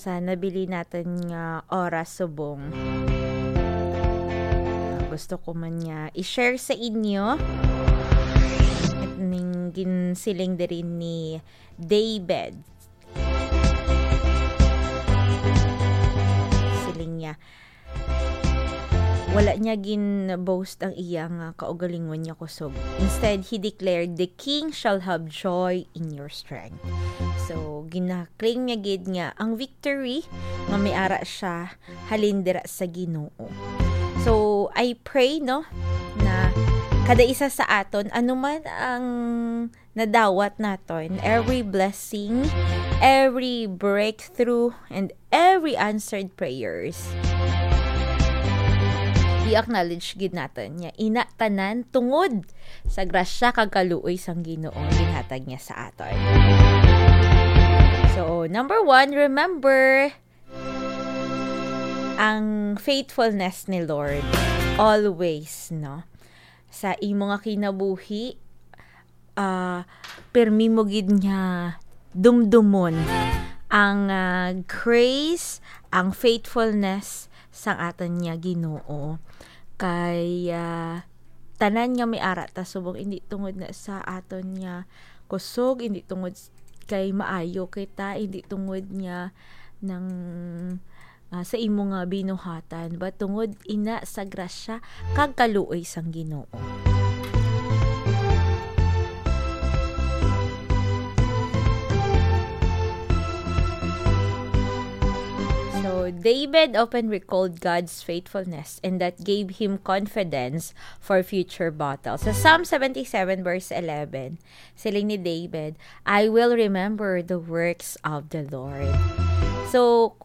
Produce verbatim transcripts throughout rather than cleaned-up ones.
sa nabili naton nga oras subong. Ah, gusto ko man nga i-share sa inyo ning ginsiling diri ni David. Siling niya, wala niya gin-boast ang iya nga kaugalingon niya kusog. Instead, he declared, "The king shall have joy in your strength." So, gina-claim niya gid nga ang victory nga may ara siya halin dira sa Ginoo. So, I pray, no, na kada isa sa aton, ano man ang nadawat naton, every blessing, every breakthrough, and every answered prayers, i-acknowledge gid naton nga ina tanan tungod sa grasya kag kaluoy sang Ginoo ang ginhatag niya sa aton. So, number one, remember ang faithfulness ni Lord always, no? Sa imo nga kinabuhi, ah, pirmi mo gid nga dumdumon ang, ah, grace, ang faithfulness sang aton nga Ginoo. Kay, ah, tanan nga may ara ta subong, hindi tungod na sa aton nga kusog, hindi tungod s-, kay maayo kita, hindi tungod nga nang, ah, sa imo nga binuhatan, but tungod ina sa grasya kag kaluoy sang Ginoo. So, David often recalled God's faithfulness, and that gave him confidence for future battles. Sa Psalm seventy-seven verse eleven, siling ni David, "I will remember the works of the Lord." So,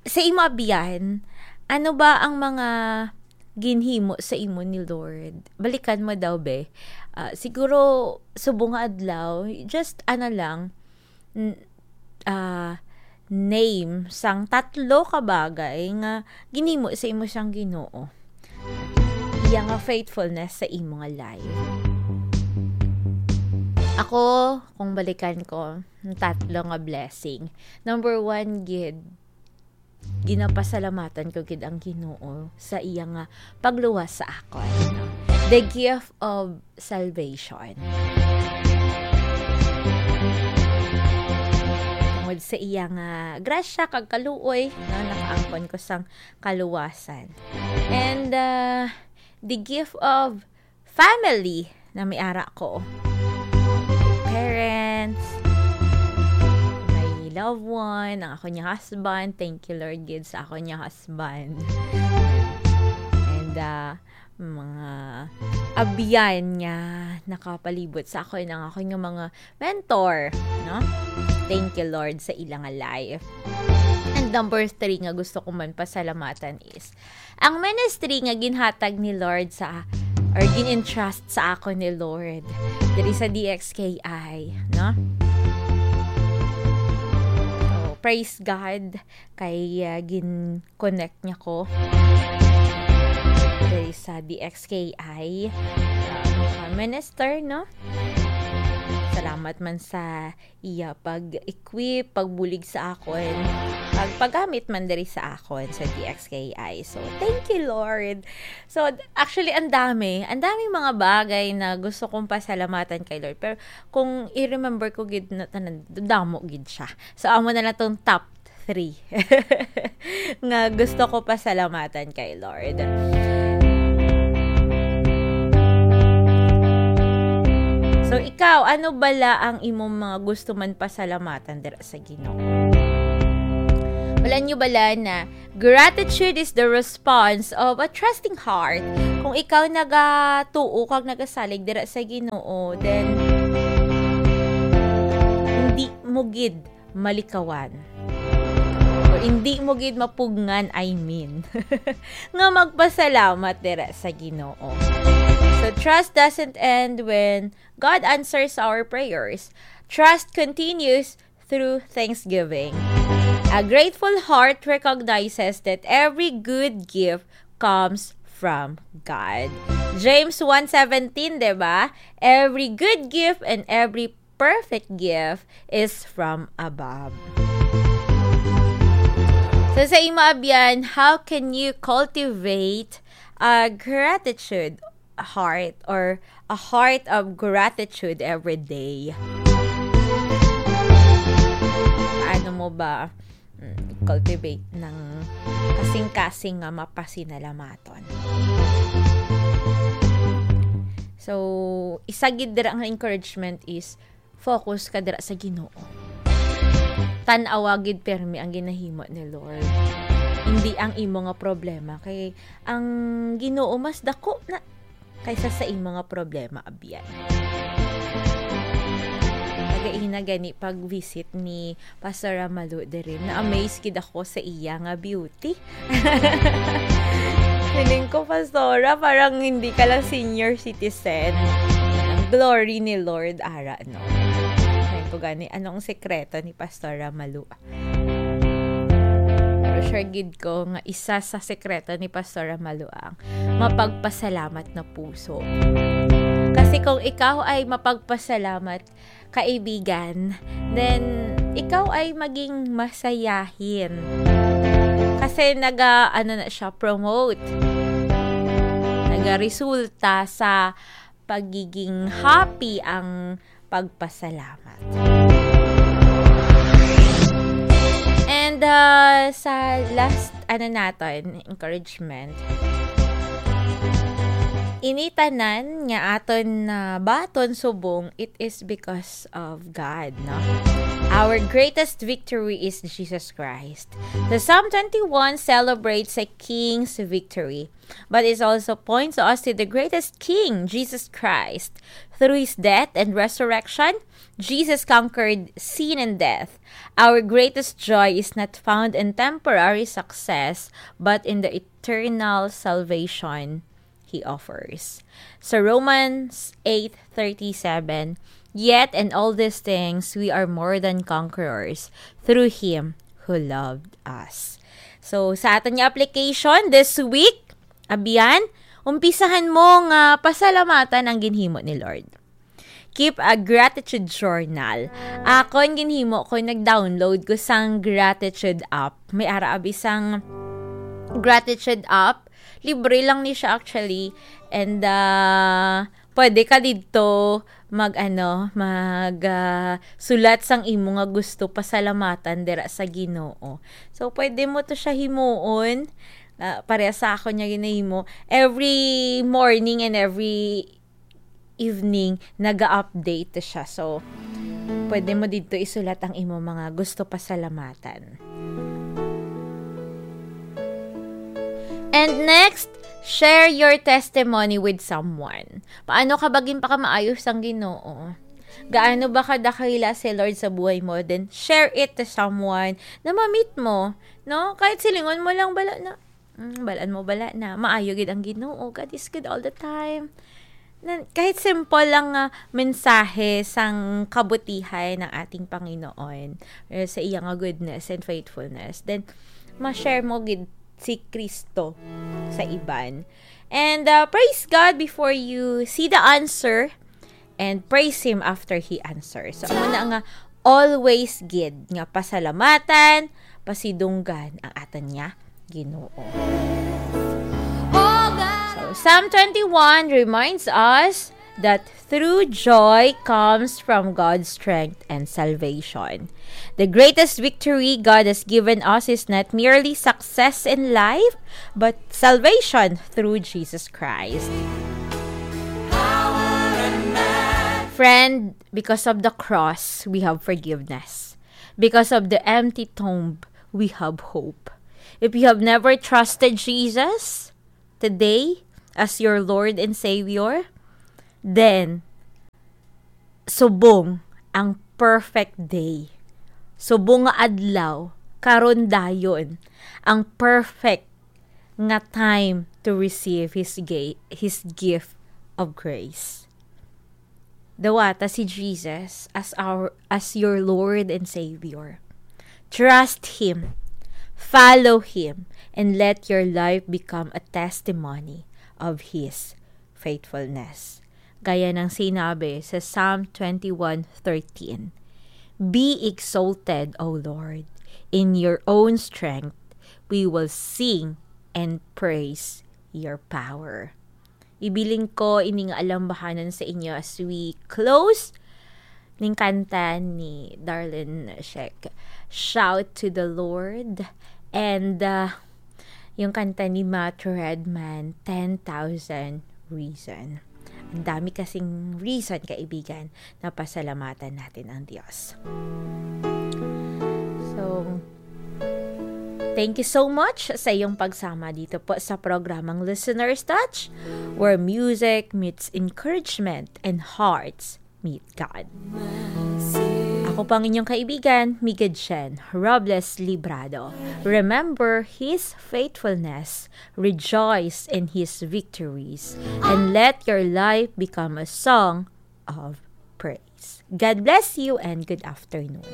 sa imo abyan, ano ba ang mga ginhimo sa imo ni Lord? Balikan mo daw, be. Ah, siguro, subong nga adlaw, just ano lang, n-, ah, name sang tatlo ka bagay nga ginhimo sa imo sang Ginoo. Iya nga faithfulness sa imo nga life. Ako, kung balikan ko, ang tatlo nga blessing. Number one, gid, ginapasalamatan ko gid ang Ginoo sa iya nga pagluwas sa akon, no? The gift of salvation. Tungod sa iya nga grasya kag kaluoy, no, nakaangkon ko sang kaluwasan. And, uh, the gift of family na may ara ko. Parents, my loved one, ang ako niya husband. Thank you, Lord, gid sa ako niya husband. And, uh, mga abyan nga nakapalibot sa akon, ang akon nga mga mentor, no? Thank you, Lord, sa ilang life. And number three nga gusto ko man pasalamatan is ang ministry nga ginhatag ni Lord sa, or gin-entrust sa akon ni Lord diri sa D X K I, no? So, praise God kay, uh, gin-connect niya ko diri sa D X K I, uh, minister, no? Salamat man sa iya pag-equip, pagbulig sa akon, pag-, paggamit man diri sa akon sa D X K I. So, thank you, Lord. So, actually, ang dami, ang dami mga bagay na gusto kong pasalamatan kay Lord. Pero kung i-remember ko gid na tanan, damo gid siya. So, amo na lang tong top three nga gusto ko pasalamatan kay Lord. So, ikaw, ano bala ang imong mga gusto man pasalamatan dira sa Ginoo? Wala niyo bala na gratitude is the response of a trusting heart? Kung ikaw nagatuo kag nagasalig dira sa Ginoo, then hindi mo gid malikawan. O hindi mo gid mapugngan, I mean, nga magpasalamat dira sa Ginoo. So, trust doesn't end when God answers our prayers. Trust continues through thanksgiving. A grateful heart recognizes that every good gift comes from God. James one seventeen, di ba? Every good gift and every perfect gift is from above. So, sa imo, Abyan, how can you cultivate a gratitude heart or a heart of gratitude every day? Paano mo ba, mm, cultivate ng kasing-kasing nga mapasinalamatan? So, isa gid dira nga encouragement is focus ka dira sa Ginoo. Tan-awa gid permi ang ginahimo ni Lord. Hindi ang imo nga problema, kay ang Ginoo mas dako na kaysa sa imo nga problema, abyan. Nagaina gani pag-visit ni Pastora Malu diri. Na-amaze gid ako sa iya nga beauty. Feeling ko, Pastora, parang hindi ka lang senior citizen. Ang glory ni Lord, ara, no? Sabi ko gani, anong sekreto ni Pastora Malu? Pero sure gid ko nga isa sa sekreto ni Pastora Malu ang mapagpasalamat na puso. Kasi kung ikaw ay mapagpasalamat, kaibigan, then ikaw ay maging masayahin. Kasi naga, ano na siya, promote. Nagaresulta sa pagiging happy ang pagpasalamat. And, uh, sa last, ano naton, encouragement. Ini tanan nga aton nabaton subong, it is because of God, no? Our greatest victory is Jesus Christ. The Psalm twenty-one celebrates a king's victory, but it also points us to the greatest king, Jesus Christ. Through his death and resurrection, Jesus conquered sin and death. Our greatest joy is not found in temporary success, but in the eternal salvation he offers. Sa Romans eight thirty-seven, "Yet in all these things we are more than conquerors through him who loved us." So, sa aton nga application this week, abyan, umpisahan mo nga pasalamatan ang ginhimo ni Lord. Keep a gratitude journal. Akon ginhimo ko, nag-download ko sang gratitude app. May ara abi sang gratitude app. Libre lang ni siya actually. And, ah, pwede ka didto mag, ano, mag, ah, sulat sang imo nga gusto pasalamatan dira sa Ginoo. So, pwede mo to siya himuon. Ah, pareha sa akon nga ginahimo. Every morning and every evening, naga-update siya. So, pwede mo didto isulat ang imo mga gusto pasalamatan. And next, share your testimony with someone. Paano ka ba ginpakamaayo sang Ginoo? Gaano ba kadakila si Lord sa buhay mo? Then, share it to someone na ma-meet mo, no? Kahit silingon mo lang, bala na, "Mm, balaan mo bala na maayo gid ang Ginoo. God is good all the time." Nan-, kahit simple lang nga mensahe sang kabutihan ng ating Panginoon, eh, sa iya nga goodness and faithfulness, then ma-share mo gid si Kristo sa iban. And, uh, praise God before you see the answer, and praise Him after He answers. So, amo na nga, always gid nga pasalamatan, pasidunggan ang aton nga Ginoo. So, Psalm twenty-one reminds us that true joy comes from God's strength and salvation. The greatest victory God has given us is not merely success in life, but salvation through Jesus Christ. Friend, because of the cross, we have forgiveness. Because of the empty tomb, we have hope. If you have never trusted Jesus today as your Lord and Savior, then subong ang perfect day. Subong nga adlaw, karon dayon, ang perfect nga time to receive His ga-, His gift of grace. Dawata si Jesus as our, as your Lord and Savior. Trust Him, follow Him, and let your life become a testimony of His faithfulness. Gaya ng sinabi sa Psalm twenty-one thirteen, "Be exalted, O Lord, in your own strength. we will sing and praise your power. Ibilin ko ini nga alambahanan sa inyo as we close ning kanta ni Darlene Sheck, Shout to the Lord, and uh, yung kanta ni Matt Redman, ten thousand Reason. Ang dami kasing reason, kaibigan, na pasalamatan natin ang Diyos. So, thank you so much sa iyong pagsama dito po sa programang Listener's Touch, where music meets encouragement and hearts meet God. Ako po ang inyong kaibigan, Miguel Chen Robles Librado. Remember His faithfulness, rejoice in His victories, and let your life become a song of praise. God bless you and good afternoon.